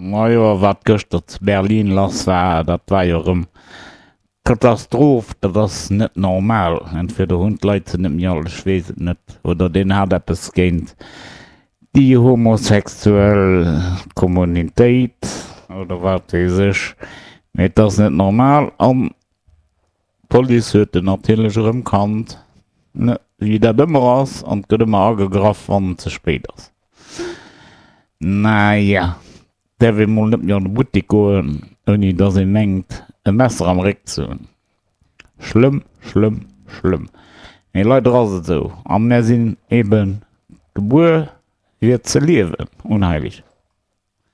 Majo, a wat gëschter zu Berlin lass war, dat war jo erëm Katastroph, dat ass net normal. Entweder hunn d'Leit se net méi all, ech weess et net, oder deen hat eppes géint déi homosexuell Kommunitéit oder wat weess ech, mee et ass net normal an d'Police huet en natierlech erëm kannt, ne, wéi dat ëmmer ass, an et gëtt ëmmer agegraff wann et ze spéit ass. Naja. Däerf ee mol net méi an de Buttek goen, ouni dass ee mengt, e Messer am Réck ze hunn. Schlëmm, schlëmm, schlëmm. Mee leider ass et esou. A mär sinn ebe gebuer, fir ze liewen. Unheilig.